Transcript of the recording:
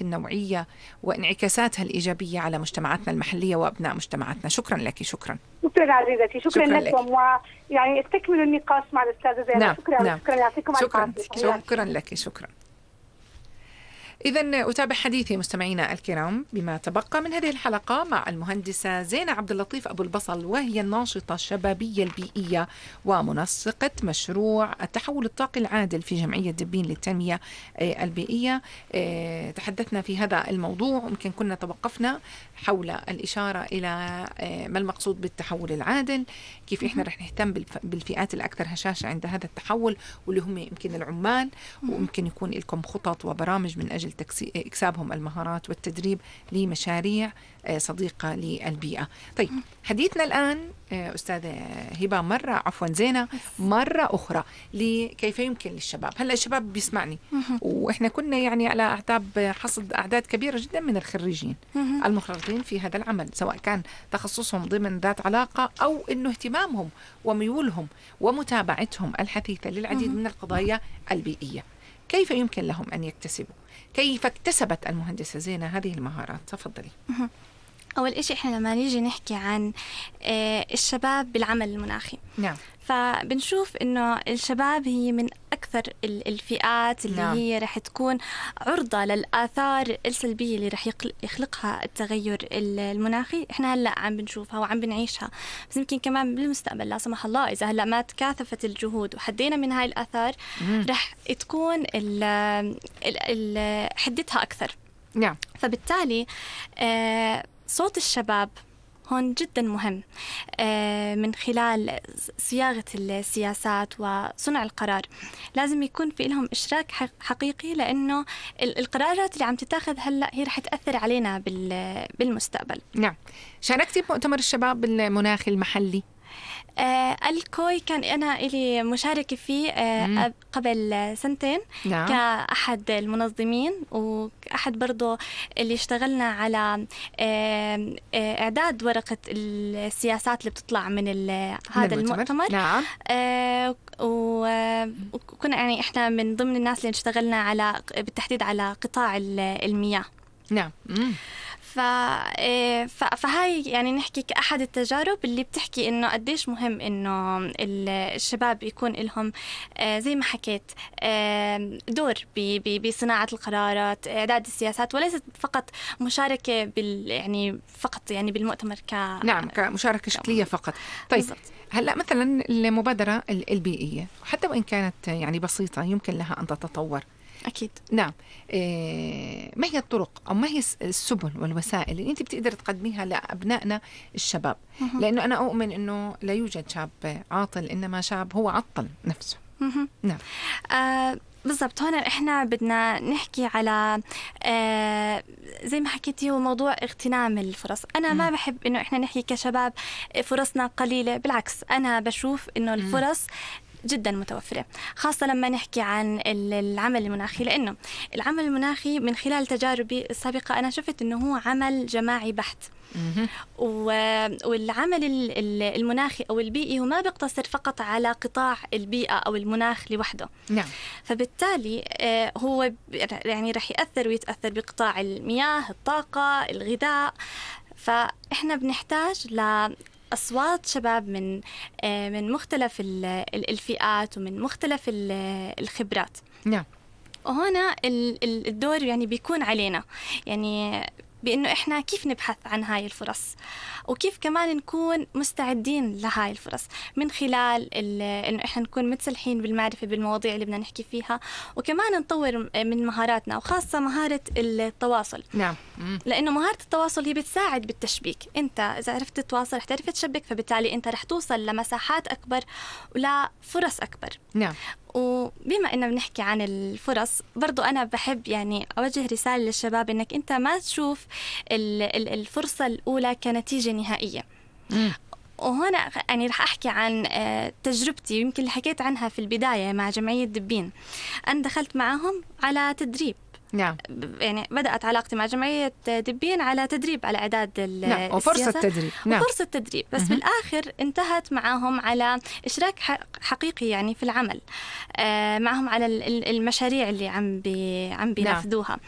النوعية وانعكاساتها الإيجابية على مجتمعاتنا المحلية وأبناء مجتمعاتنا. شكرا لك. شكرا عزيزتي. شكرا لكم، ويعني استكملوا النقاش مع الأستاذة زينب. نعم. شكرا. نعم. شكرا يعطيكم العافية. شكرا لك. شكرا. إذن أتابع حديثي مستمعينا الكرام بما تبقى من هذه الحلقة مع المهندسة زينة عبد اللطيف أبو البصل، وهي الناشطة الشبابية البيئية ومنسقة مشروع التحول الطاقي العادل في جمعية دبين للتنمية البيئية. تحدثنا في هذا الموضوع، يمكن كنا توقفنا حول الإشارة إلى ما المقصود بالتحول العادل، كيف إحنا رح نهتم بالفئات الأكثر هشاشة عند هذا التحول، واللي هم يمكن العمال، ويمكن يكون لكم خطط وبرامج من أجل إكسابهم المهارات والتدريب لمشاريع صديقة للبيئة. طيب، حديثنا الآن أستاذة هبة زينة مرة أخرى لكيف يمكن للشباب. هلأ الشباب بيسمعني، وإحنا كنا يعني على أعتاب حصد أعداد كبيرة جدا من الخريجين المخرجين في هذا العمل، سواء كان تخصصهم ضمن ذات علاقة أو إنه اهتمامهم وميولهم ومتابعتهم الحثيثة للعديد من القضايا البيئية. كيف يمكن لهم أن يكتسبوا؟ كيف اكتسبت المهندسة زينة هذه المهارات؟ تفضلي. أول إشي إحنا لما نيجي نحكي عن الشباب بالعمل المناخي، نعم، فبنشوف إنه الشباب هي من أكثر الفئات اللي نعم. هي رح تكون عرضة للآثار السلبية اللي رح يخلقها التغير المناخي. إحنا هلأ عم بنشوفها وعم بنعيشها، بس يمكن كمان بالمستقبل لا سمح الله إذا هلأ ما تكاثفت الجهود وحدينا من هاي الآثار رح تكون حدتها أكثر. نعم. فبالتالي صوت الشباب هون جدا مهم من خلال صياغة السياسات وصنع القرار. لازم يكون في لهم إشراك حقيقي، لأنه القرارات اللي عم تتاخذ هلأ هي رح تأثر علينا بالمستقبل. نعم. شاركتي بمؤتمر الشباب المناخي المحلي؟ الكوي كان أنا إلي مشاركة فيه قبل سنتين. نعم. كأحد المنظمين، وأحد برضو اللي اشتغلنا على إعداد ورقة السياسات اللي بتطلع من هذا المؤتمر. نعم. وكنا يعني إحنا من ضمن الناس اللي اشتغلنا بالتحديد على قطاع المياه. نعم. فهاي يعني نحكي كأحد التجارب اللي بتحكي إنه قديش مهم إنه الشباب يكون لهم زي ما حكيت دور بصناعة القرارات، إعداد السياسات، وليست فقط مشاركة يعني فقط يعني بالمؤتمر نعم، كمشاركة شكلية فقط. طيب بالضبط. هلأ مثلا المبادرة البيئية حتى وإن كانت يعني بسيطة يمكن لها أن تتطور. أكيد. نعم. ما هي الطرق أو ما هي السبل والوسائل اللي أنت بتقدر تقدميها لأبنائنا الشباب؟ لأنه أنا أؤمن أنه لا يوجد شاب عاطل، إنما شاب هو عطل نفسه. نعم. بالضبط. هنا إحنا بدنا نحكي على زي ما حكيتي هو موضوع اغتنام الفرص. أنا ما بحب إنه إحنا نحكي كشباب فرصنا قليلة، بالعكس أنا بشوف إنه الفرص جدا متوفرة، خاصة لما نحكي عن العمل المناخي، لأنه العمل المناخي من خلال تجاربي السابقة أنا شفت أنه هو عمل جماعي بحت. والعمل المناخي أو البيئي هو ما بيقتصر فقط على قطاع البيئة أو المناخ لوحده. نعم. فبالتالي هو يعني رح يأثر ويتأثر بقطاع المياه، الطاقة، الغذاء. فإحنا بنحتاج أصوات شباب من مختلف الفئات ومن مختلف الخبرات. نعم. وهنا الدور يعني بيكون علينا، يعني بأنه إحنا كيف نبحث عن هاي الفرص، وكيف كمان نكون مستعدين لهاي الفرص من خلال إنه إحنا نكون متسلحين بالمعرفة بالمواضيع اللي بدنا نحكي فيها، وكمان نطور من مهاراتنا، وخاصة مهارة التواصل. نعم. لأنه مهارة التواصل هي بتساعد بالتشبيك. أنت إذا عرفت تتواصل رح تعرف تشبك، فبالتالي أنت رح توصل لمساحات أكبر ولا فرص أكبر. نعم. وبما إننا بنحكي عن الفرص، برضو أنا بحب يعني أوجه رسالة للشباب إنك أنت ما تشوف الفرصة الأولى كنتيجة نهائية. وهنا يعني رح أحكي عن تجربتي، يمكن اللي حكيت عنها في البداية مع جمعية دبين. أنا دخلت معهم على تدريب نعم. يعني بدأت علاقتي مع جمعية دبين على تدريب على إعداد نعم. وفرصة تدريب. نعم. وفرصة تدريب، بس بالآخر انتهت معهم على إشراك حقيقي يعني في العمل معهم على المشاريع اللي عم بينفذوها.